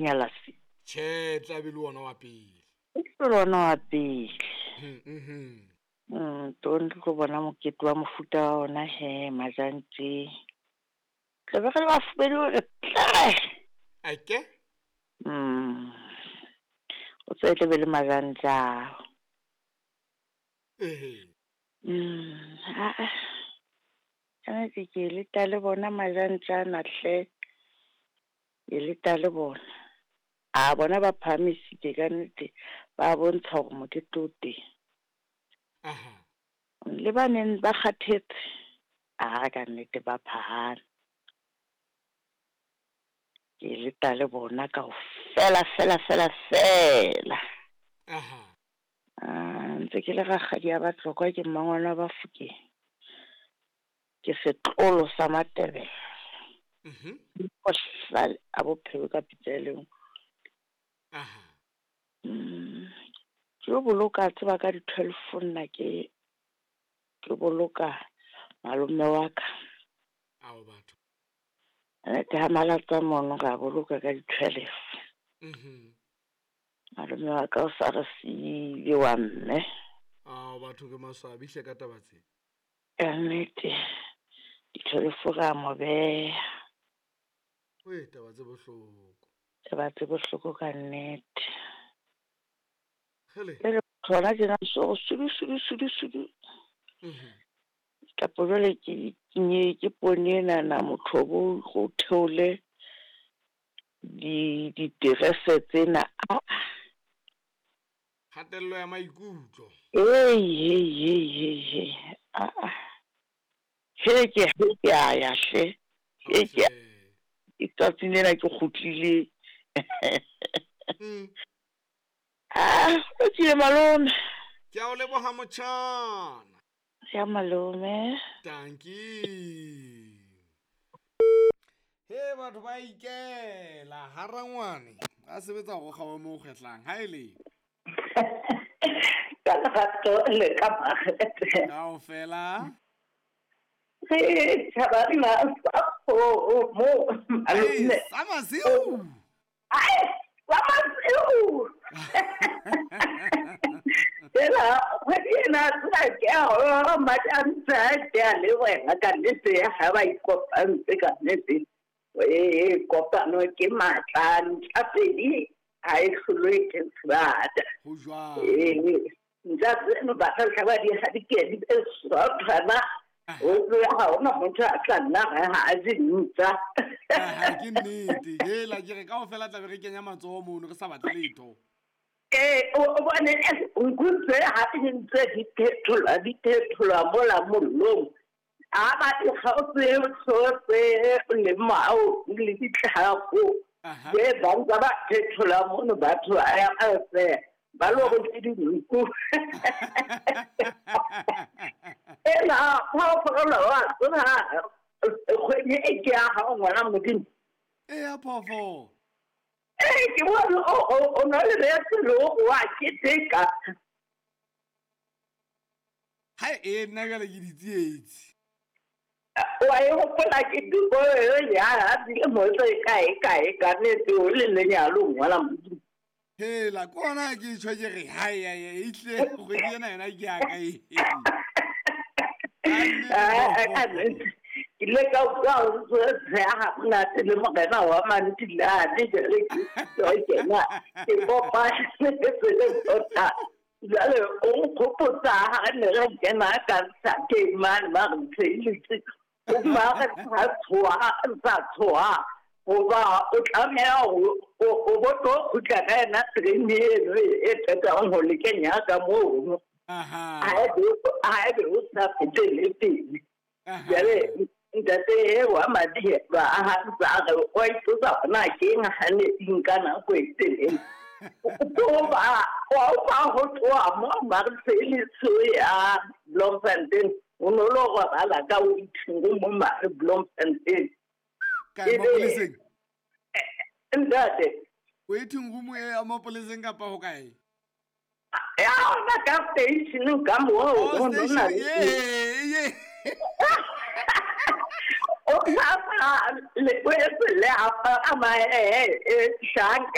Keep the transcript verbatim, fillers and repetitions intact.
Nyalasi. Tjhe, tla be le wona wa pele. E tlo le ona wa pele. Mhm, mhm. Mm, tong re tlo bona mokete wa mofuta wa ona he majantse. Tla be re le bafubedu re tle. Ake? Mm. O tsebe tla be le majantse ao. Ehe. Mm, aa. Ka nnete ke leta le bona majantse ana hle. Ke leta le bona. A bona ba phahamisitse ka nnete, ba bontsha hore mokete o teng. Aha. Le ba neng ba kgathetse, a ka nnete ba phahame. Ke leta le bona kaofela fela fela fela. Aha. Ah, ntse ke le rakgadi ya Batlokwa ke mmangwana wa Bafokeng. Ke setlolo sa Matebele. Mhm. Bohlale a bophelo ka pitsa e le nngwe. Aha. Mm. Ke yo boloka tseba ka di twelve nna ke ke boloka malome wa ka. Ao batho. Nnete ha malatsa mono ra boloka ka di twelve. Mhm. Malome wa ka o sa re siile wa mme. Ao batho ke maswabi hle ka taba tse. Ka nnete di twelve ra mo beha. Wee, taba tse bohloko. Taba tse bohloko ka nnete. Hele. Jwale hona tjena so sudu sudu sudu sudu. Mhm. Kapo jwale ke ke ke poone enana motho bo go theole di diterese tsena. Ah. Kgatello ya maikutlo. Hey hey hey hey hey. Ah ah. He ke he ke a ya hle. He ke Hle. tsatsing lena ke kgutlile. Mm. Ah, o tsile malome. Ke a o leboha motjhana. Ya malome. Dankie. He batho ba ikela ha rangwane a sebetsa go kgawa mo kgwetlang ha ele. Ka lerato le ka makgethe. Kaofela. Re tjhabana sa kgomo, malome. Ai, sa masiu. Ai, sa masiu. Ela, kgwedi ena tsena ke a hore majantse a ke a le wena ka nnete ha ba ikopantse ka nnete. Ee, kopano ke matla, ntja pedi ha e hlolwe ke sebata. Ho jwalo. Ee, ntja tseno ba tla tla ba di ha di ke di be sothwana. O tsebe ha hona motho a tla nna re ha a je ntja. Aha, ke nnete. Hela ke re kaofela tla be re kenya matsoho mono re sa batle letho. Ee, o o bone nku tse ha di ntse di phetholwa, di phetholwa mola mollong. A ba di kgaotse tsohle le mao le ditlhako. Aha. Be ba ntse ba phethola mono batho ba ya kaofela. Ba lo re ke dinku. Ena phoofolo wa tseba kgwedi e ke ya hao ngwana Modimo. E ya phoofolo. Ee, ke bone o o o na le bese le o wa keteka. Ha e nna jwale ke ditsietsi. Wa e hopola ke diko ya ha dilemo tse kae kae ka nnete o le lenyalo ngwana Modimo. Hela ke ona ke tjho ke re hai hai e tle kgwedi ena yona ke ya ka e. Ah, ka nnete. Ke ile ka utlwa ho tsheha ha monate le morena wa Mantilane jwale ke tlo kena ke kopane le tota. Jwale o nkgopotsa ha re ne re kena ka sakeng mane ba re ntsheheditse. O mare sa tshoha, sa tshoha. Hoba o tlameha ho o o bo tlo kgutla ka yena terene eno e qetang ho le kenya ka mono. Aha. Ha ebe ha ebe o sa fetele pele. Aha. Jwale ntate e wa madi ba ha ntse a re wa ipotsa hore na ke eng ha ne di nka nako e telele. Ko ba wa ba ho tloha mo Marseille ya Bloemfontein. O no lo robala ka waiting room mo mare Bloemfontein. Kae mapoleseng? Ntate. Waiting room e ya mapoleseng kapa ho kae? Ya ona ka station ka moo Oh, o no na station, le ye, ye. O sa le o etse le a Ka pagama e e shanka.